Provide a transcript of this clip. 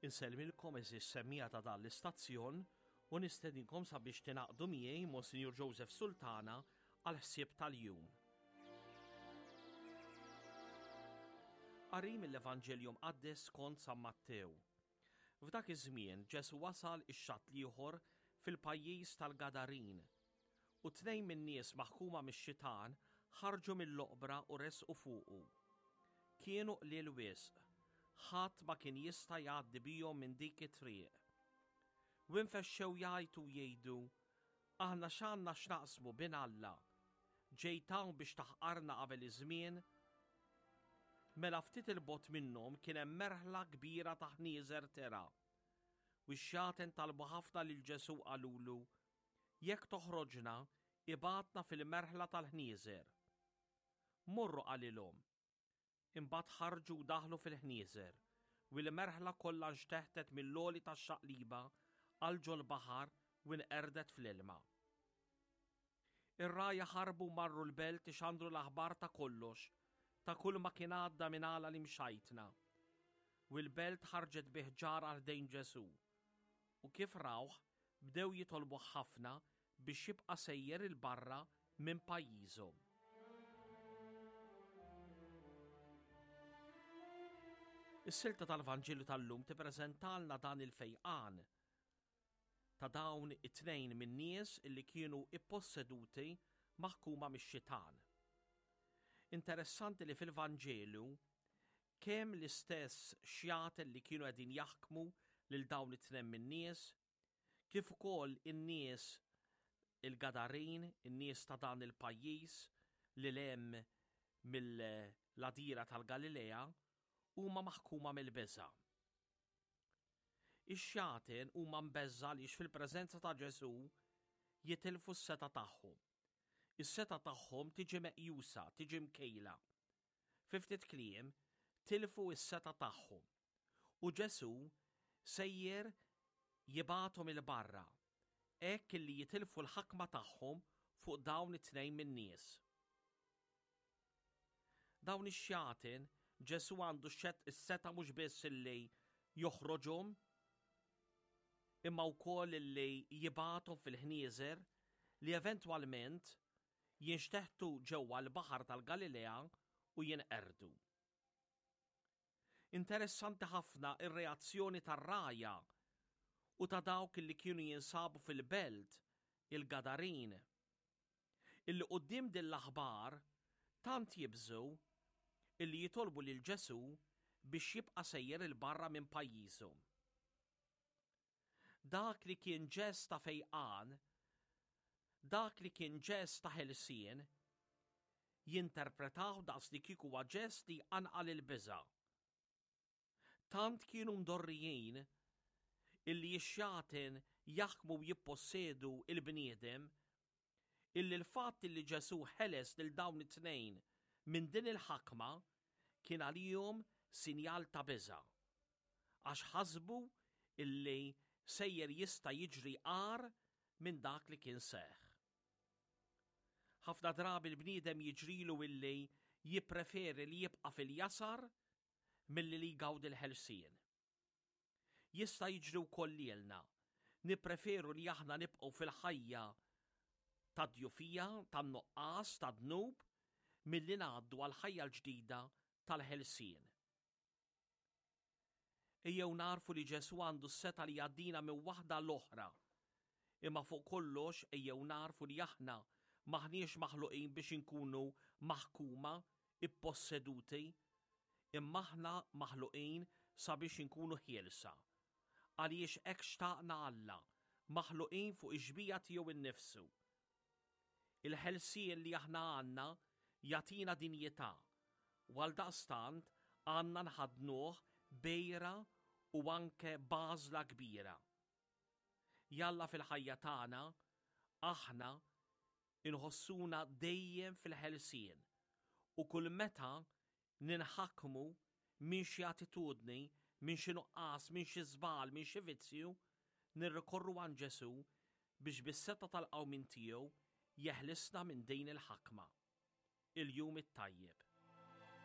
Insellmilkom għeżież semmiegħa ta' dan l-istazzjon u nistedinkom sabiex tingħaqdu miegħi Monsinjur Joseph Sultana għall-ħsieb tal-jum. Qari mill-Evanġelju Mqaddes skont San Mattew. F'dak iż-żmien Ġesù wasal ix-xatt l-ieħor fil-pajjiż tal-Gadarin. U tnejn min-nies maħkuma mix-xitan ħarġu mill-oqbra u resqu fuqu. Kienu qliel wisq, ħadd ma kien jista' jgħaddi bihom minn dik it-triq. U infexxew jgħajtu u jgħidu, Aħna x'għandna x'naqsmu, Bin Alla? Ġejt hawn biex taħqarna qabel iż-żmien? Mela ftit 'il bogħod minnhom kien hemm merħla kbira ta' ħnieżer tergħa. U x-xjaten talbu ħafna lil Ġesù qalulu, Jekk toħroġna, ibgħatna fil-merħla tal-ħnieżer. Morru qalilhom. Imbagħad ħarġu u daħlu fil-ħnieżer, u l-merħla kollha nxteħtet mill-għoli tax-xaqliba għal ġol-baħar u nqerdet fl-ilma. Ir-rgħajja ħarbu u marru l-belt ixandru l-aħbar ta' kollox, ta' kull ma kien għadda minn għala l-imxajtna. U l-belt ħarġet bi ħġarha ħdejn Ġesù. U kif rawh, bdew jitolbuh ħafna biex jibqa' sejjer 'il barra minn pajjiżhom. Is-silta tal-Vanġelu tal-lum tippreżentalna dan il-fejqan ta' dawn it-tnejn min-nies illi kienu ipposseduti maħkuma mix-xitan. Interessanti li fil-Vanġelu kemm l-istess xjaten li kienu qegħdin jaħkmu lil dawn it-tnejn min-nies, kif ukoll in-nies il-Gadarin, in-nies ta' dan il-pajjiż lil hemm mill-għadira tal-Galilea, huma maħkuma mill-biża'. Ix-xjaten huma mbeżża' għaliex fil-preżenza ta' Ġesù jitilfu s-setgħa tagħhom. Is-setgħa tagħhom tiġi meqjusa, tiġi mkejla. Fi ftit kliem, tilfu s-setgħa tagħhom. U Ġesù sejjer jibgħathom 'il barra, hekk illi jitilfu l-ħakma tagħhom fuq dawn it-tnejn min-nies. Dawn ix-xjaten, Ġesù għandu s-setgħa mhux biss illi joħroġhom, imma wkoll illi jibgħathom fil-ħnieżer li eventwalment jinxteħtu ġewwa l-Baħar tal-Galilea u jinqerdu. Interessanti ħafna r-reazzjoni tar-rgħajja u ta' dawk li kienu jinsabu fil-belt, il-Gadarin, illi quddiem din l-aħbar tant jibżgħu illi jitolbu lil Ġesù biex jibqa' sejjer 'il barra minn pajjiżhom. Dak li kien ġest ta' fejqan, dak li kien ġest ta' ħelsien, jinterpretawh daqs li kieku huwa ġest li jqanqal il-biża'. Tant kienu mdorrijin illi x-xjaten jaħkmu u jippossedu l-bniedem illi l-fatt illi Ġesù ħeles lil dawn it-tnejn minn din il-ħakma kien għalihom sinjal ta' biża', għax ħasbu illi sejjer jista' jiġri agħar minn dak li kien seħħ. Ħafna drabi l-bniedem jiġrilu illi jippreferi li jibqa' fil-jasar milli li jgawdi l-ħelsien. Jista' jiġri wkoll lilna, nippreferu li aħna nibqgħu fil-ħajja ta' djufija, tan-nuqqas, ta' dnub, milli ngħaddu għall-ħajja l-ġdida tal-ħelsien. Ejjew nagħrfu li Ġesù għandu s-setgħa li jgħaddina minn waħda għal oħra. Imma fuq kollox ejjew nagħrfu li aħna m'aħniex maħluqin biex inkunu maħkuma, ipposseduti, imma aħna maħluqin sabiex inkunu ħielsa. Għaliex hekk xtaqna Alla, maħluqin fuq ix-xbieha tiegħu nnifsu. Il-ħelsien li aħna għandna jagħtina dinjità u għaldaqstant għandna nħaddnuh b'għira u anke b'għażla kbira. Jalla fil-ħajja tagħna aħna inħossuna dejjem fil-ħelsien u kull meta ninħakmu minn xi attitudni, minn xi nuqqas, minn xi żball, minn xi vizzju, nirrikorru għand Ġesù biex bis-setgħa tal-qawmien tiegħu jeħlisna minn din il-ħakma. Il-jum it-tajjeb.